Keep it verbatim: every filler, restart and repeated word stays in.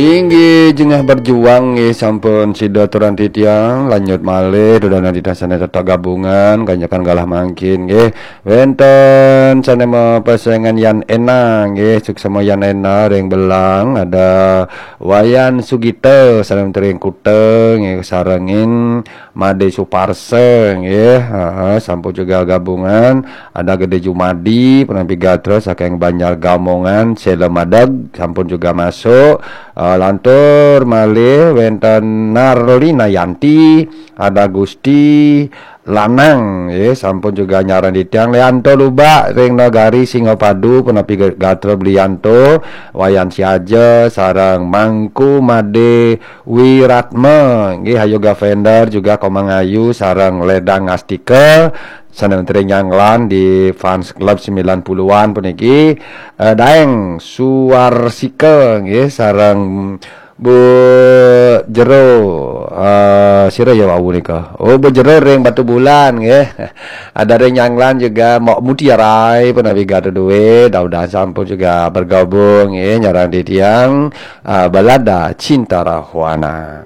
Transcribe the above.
Inggih, jengah berjuang nggih, sampun sida turun titiang, lanjut malih dudonan titiang sané tetep gabungan, kanyakan galah mangkin nggih. Wénten sané mapesengan Yan Ena nggih, suksma Yan Ena ring Belang, ada Wayan Sugita sané tering Kuta nggih, sarengin Made Suparsa nggih, heeh, sampun juga gabungan. Ada Gede Jumadi, punapi gatra saking Banjar Gamongan, Sela Madeg, sampun juga masuk. Eh, lantur malih wénten Narlina Yanti, ada Gusti Lanang, nggih, sampun juga nyarengin titiang. Leanto Lubak ring Nagari Singapadu, punapi gatra Blianto, Wayan Siaja, sareng Mangku Made Wiratma, nggih, Ayu Gavender juga Komang Ayu sareng Ledang Astika, sané tering nyanglan di Fans Club sembilan puluhan puniki, eh, Daeng Suarsika, nggih, sareng Bu Jero, eh, sira ya wau nika. Oh, Bu Jero ring Batubulan, nggih. Ada ring nyanglan juga Mok Mutiarai, punapi gatra duwé, daudan sampun juga bergabung, nggih, nyarengin titiang, eh, Balada Cinta Rahwana.